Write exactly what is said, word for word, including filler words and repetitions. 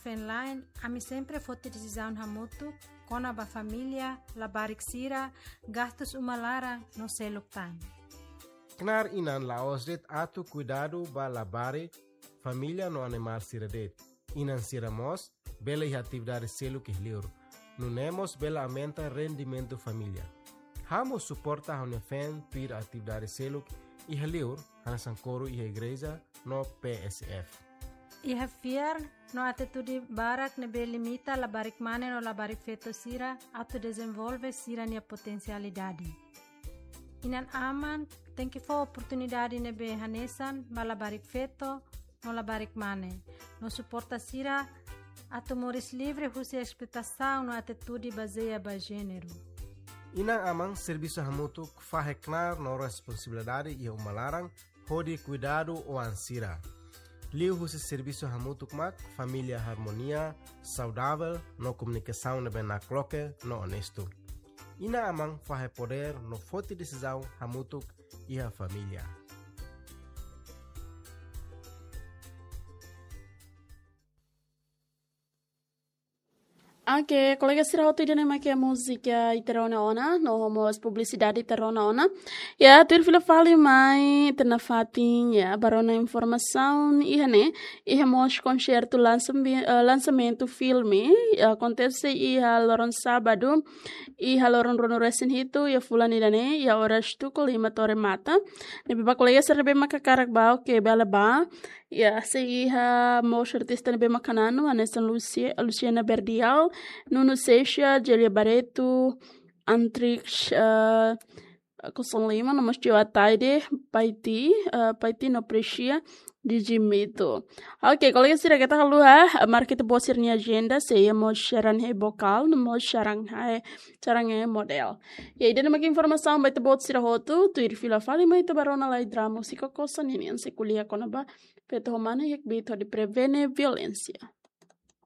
Fenlain, ami sempre foti desizaun hamutuk kona-ba família, labarik sira, gastus uma laran no seluk tan. Knaar inan la'ós de'it atu kuidadu ba labarik, família no animál sira de'it. Inan sira mós bele iha atividade seluk iha liur. Nune'e mós bele aumenta rendimentu família. Ha'u mós suporta ha'u-nia feen tuir atividade seluk iha liur, hanesan koru iha igreja no P S F. Iha fiar no atitude barak ne'ebé limita labarik mane no labarik feto sira atu dezenvolve sira-nia potensialidade. Inan-aman tenke fó oportunidade ne'ebé hanesan ba labarik feto no labarik mane, no suporta sira atu moris livre husi esploitasaun no atitude bazeia ba jéneru. Inan-aman servisu hamutuk fahe knaar no responsabilidade iha uma laran hodi kuidadu oan sira. Liuhusi servisu hamutuk mak família harmonia, saudavel no komunikasaun ne'ebé nakloke no onestu. Inan-aman fahe podér no foti desizaun hamutuk iha família. Oke, kolega sira hotu, ida-ne'e mak múzika ita rona ona, no mós publisidade ita rona ona. Ya, tuir fila fali mai ita nafatin, ya, ba rona informasaun iha ne'e, iha mós konsertu lansambi-, eh, lansamentu filme, ya, akontese iha loron sábadu, iha loron ruanulu-resin-hitu, iha fulan ida-ne'e, iha oras tuku lima to'o remata. Ne'ebé ba kolega sira ne'ebé mak hakarak bá, oke, bele bá. Ya, sei iha mós artista ne'ebé mak hananu, hanesan Lucia, Luciana Verdial, Nuno Seixas, Gélia Barreto, Antrix, eh, Kosong Lima, no mós Tio Ataide, Paiti, eh, Paiti no Prexia, Digimito. Oke, kolega sira, keta haluha, eh, marka ita-boot sira-nia ajenda, sei iha mós Xaran Hei Bokal, no mós Xaran Hei, Xaran Hei Model. Ya, ida-ne'e mak informasaun ba ita-boot sira hotu, tuir fila fali mai ita ba rona lai drama husi Koko Sanini, hanesan ko'alia kona-ba feto ho mane iha kbiit hodi prevene violénsia.